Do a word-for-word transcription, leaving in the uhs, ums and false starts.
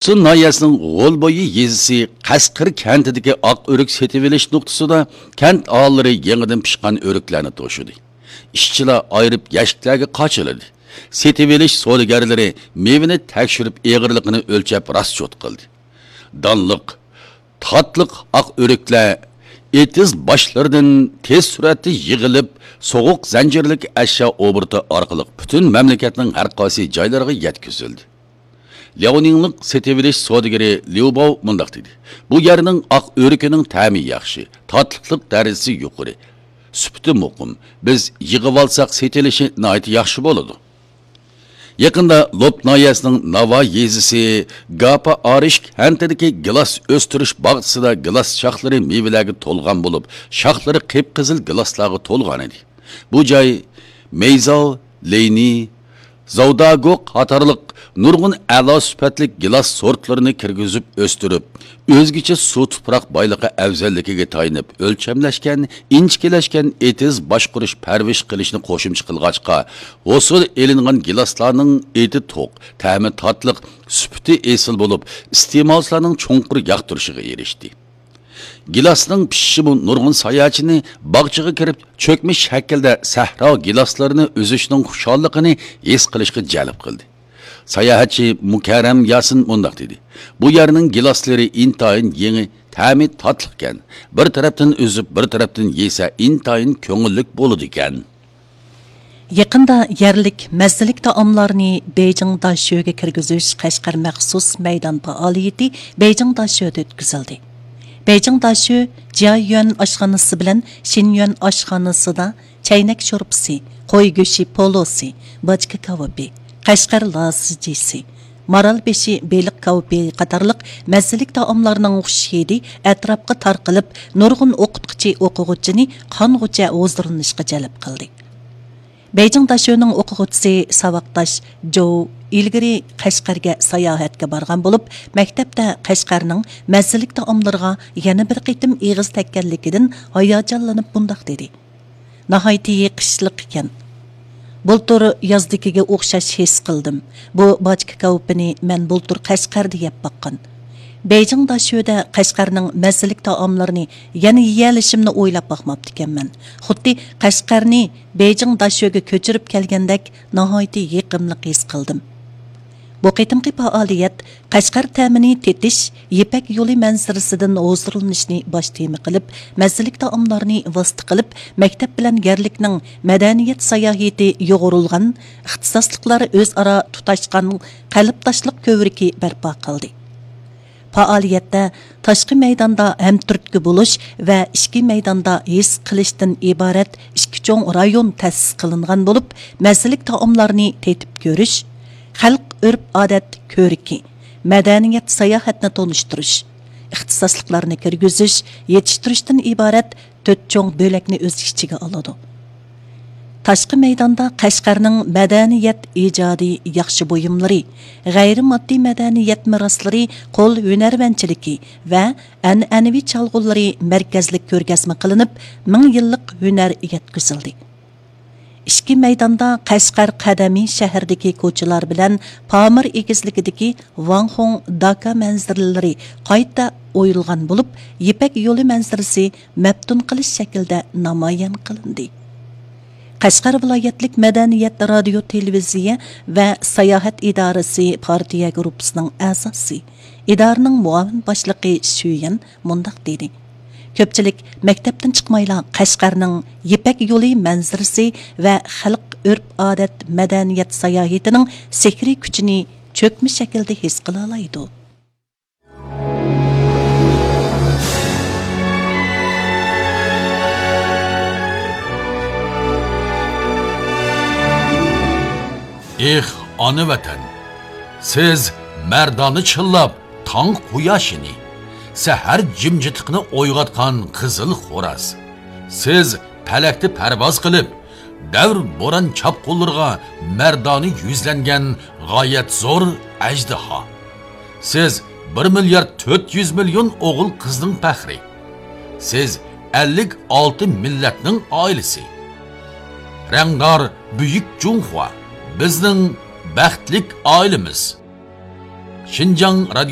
سۇن ناھىيەسىنىڭ غولبويى يېزىسى قەشقەر كەنتىدىكى ئاق ئۆرۈك سېتىۋېلىش نۇقتىسىدا كەنت ئاھالىلىرى يېڭىدىن پىشقان ئۆرۈكلەرنى توشۇدى. ئىشچىلار ئايرىپ يەشىكلەرگە قاچىلىدى. سېتىۋېلىش سودىگەرلىرى مېۋىنى تەكشۈرۈپ، ئېغىرلىقىنى ئۆلچەپ راسچوت قىلدى. دانلىق، تاتلىق ئاق ئۆرۈكلەر ئېتىز باشلىرىدىن تېز سۈرئەتتە يىغىلىپ، سوغۇق زەنجىرلىك ئەشيا ئوبوروتى ئارقىلىق پۈتۈن مەملىكەتنىڭ ھەر قايسى جايلىرىغا يەتكۈزۈلدى. لياۋنىڭلىق سېتىۋېلىش سودىگىرى ليۇ باۋ مۇنداق دېدى: «بۇ يەرنىڭ ئاق ئۆرۈكىنىڭ تەمى ياخشى، تاتلىقلىق دەرىجىسى يۇقىرى، سۈپىتى مۇقىم. بىز يىغىۋالساق، سېتىلىشى ناھايىتى ياخشى بولىدۇ.» يېقىندا لوپ ناھىيەسىنىڭ ناۋا يېزىسى گاپا ئارىش كەنتىدىكى گىلاس ئۆستۈرۈش باغچىسىدا گىلاس شاخلىرى مېۋىلەرگە تولغان بولۇپ، شاخلىرى قىپقىزىل گىلاسلارغا تولغان ئىدى. بۇ جاي مەيزاۋ، لېينى، زاۋداگو قاتارلىق نۇرغۇن ئەلا سۈپەتلىك گىلاس سورتلىرىنى كىرگۈزۈپ ئۆستۈرۈپ، ئۆزگىچە سۇ تۇپراق بايلىقى ئەۋزەللىكىگە تايىنىپ ئۆلچەملەشكەن، ئىنچىكىلەشكەن ئېتىز باشقۇرۇش، پەرۋىش قىلىشنى قوشۇمچە قىلغاچقا، ھوسۇل ئېلىنغان گىلاسلارنىڭ ئېتى توق، تەمى تاتلىق، سۈپىتى ئېسىل بولۇپ، ئىستېمالچىلارنىڭ چوڭقۇر ياقتۇرۇشىغا ئېرىشتى. گىلاسنىڭ پىشىشىمۇ نۇرغۇن ساياھەتچىنى باغچىغا كىرىپ، چۆكمە شەكىلدە سەھرا گىلاسلىرىنى ئۈزۈشنىڭ خۇشاللىقىنى ھېس قىلىشقا جەلپ قىلدى. ساياھەتچى مۇكەررەم ياسىن مۇنداق دېدى: «بۇ يەرنىڭ گىلاسلىرى ئىنتايىن يېڭى، تەمى تاتلىقكەن. بىر تەرەپتىن ئۈزۈپ، بىر تەرەپتىن يېسە ئىنتايىن كۆڭۈللۈك بولىدىكەن.» يېقىندا يەرلىك مەززىلىك تائاملارنى بېيجىڭ داشۆگە كىرگۈزۈش قەشقەر مەخسۇس مەيدان پائالىيىتى بېيجىڭ داشۆدە ئۆتكۈزۈلدى. بېيجىڭ داشۆ جيايۈەن ئاشخانىسى بىلەن شىنيۈەن ئاشخانىسىدا چەينەك شورپىسى، قوي گۆشى پولۇسى، باچكا كاۋىپى، قەشقەر لازىجىسى، مارال بېشى بېلىق كاۋىپى قاتارلىق مەززىلىك تائاملارنىڭ خۇش ھىدى ئەتراپقا تارقىلىپ، نۇرغۇن ئوقۇتقۇچى ئوقۇغۇچىنى قانغۇچە ھۇزۇرلىنىشقا جەلپ قىلدى. بېيجىڭ داشۆنىڭ ئوقۇغۇچىسى ساۋاقداش جوۋ ئىلگىرى قەشقەرگە ساياھەتكە بارغان بولۇپ، مەكتەپتە قەشقەرنىڭ مەززىلىك تائاملىرىغا يەنە بىر قېتىم ئېغىز تەگكەنلىكىدىن ھاياجانلىنىپ مۇنداق دېدى: «ناھايىتى يېقىشلىق ئىكەن. بۇلتۇر يازدىكىگە ئوخشاش ھېس قىلدىم. بۇ باچكا كاۋىپىنى مەن بۇلتۇر قەشقەردە يەپ باققان. بېيجىڭ داشۆدە قەشقەرنىڭ مەززىلىك تائاملىرىنى يەنە يېيەلىشىمنى ئويلاپ باقماپتىكەنمەن. خۇددى قەشقەرنى بېيجىڭ داشۆگە كۆچۈرۈپ كەلگەندەك ناھايىتى يېقىملىق ھېس قىلدىم.» بۇ قېتىمقى پائالىيەت قەشقەر تەمىنى تېتىش، يىپەك يولى مەنزىرىسىدىن ھۇزۇرلىنىشنى باش تېما قىلىپ، مەززىلىك تائاملارنى ۋاسىتە قىلىپ، مەكتەپ بىلەن يەرلىكنىڭ مەدەنىيەت ساياھىتى يۇغۇرۇلغان، ئىختىساسلىقلار ئۆزئارا تۇتاشقان قەلبداشلىق كۆۋرۈكى بەرپا قىلدى. پائالىيەتتە تاشقى مەيداندا ھەمتۈرتكە بولۇش ۋە ئىچكى مەيداندا ھېس قىلىشتىن ئىبارەت ئىككى چوڭ رايون تەسىس قىلىنغان بولۇپ، مەززىلىك تائاملارنى تېتىپ كۆرۈش، خەلق ئۆرپ-ئادەت كۆرىكى، مەدەنىيەت ساياھەتنى تونۇشتۇرۇش، ئىختىساسلىقلارنى كىرگۈزۈش، يېتىشتۈرۈشتىن ئىبارەت تۆت چوڭ بۆلەكنى ئۆز ئىچىگە ئالىدۇ. تاشقى مەيداندا قەشقەرنىڭ مەدەنىيەت ئىجادىي ياخشى بۇيۇملىرى، غەيرىي ماددىي مەدەنىيەت مىراسلىرى، قول ھۈنەرۋەنچىلىكى ۋە ئەنئەنىۋى چالغۇلىرى مەركەزلىك كۆرگەزمە قىلىنىپ، مىڭ يىللىق ھۈنەر يەتكۈزۈلدى. ئىچكى مەيداندا قەشقەر قەدىمىي شەھىرىدىكى كوچىلار بىلەن پامىر ئېگىزلىكىدىكى ۋاڭخۇڭ داكا مەنزىرىلىرى قايتا ئويۇلغان بولۇپ، يىپەك يولى مەنزىرىسى مەپتۇن قىلىش شەكلىدە نامايان قىلىندى. قەشقەر ۋىلايەتلىك مەدەنىيەت، رادىيو، تېلېۋىزىيە ۋە ساياھەت ئىدارىسى پارتىيە گۇرۇپپىسىنىڭ ئەزاسى، ئىدارىنىڭ مۇئاۋىن باشلىقى شۈيەن مۇنداق دېدى: «كۆپچىلىك مەكتەپتىن چىقمايلا قەشقەرنىڭ يىپەك يولى مەنزىرىسى ۋە خەلق ئۆرپ-ئادەت مەدەنىيەت ساياھىتىنىڭ سېھرىي كۈچىنى چۆكمە شەكىلدە ھېس قىلالايدۇ.» ئېھ، ئانا ۋەتەن! سىز مەردانە چىللاپ تاڭ قۇياشىنى، سەھەر جىمجىتلىقىنى ئويغاتقان قىزىل خوراز. سىز پەلەكتە پەرۋاز قىلىپ، دەۋر بوران چاپقۇنلىرىغا مەردانە يۈزلەنگەن غايەت زور ئەجدىھا. سىز بىر مىليارد تۆت يۈز مىليون ئوغۇل قىزنىڭ پەخرى. سىز ئەللىك ئالتە مىللەتنىڭ ئائىلىسى. رەڭدار بۈيۈك جۇڭخۇا، بىزنىڭ بەختلىك ئائىلىمىز. شىنجاڭ رادىيو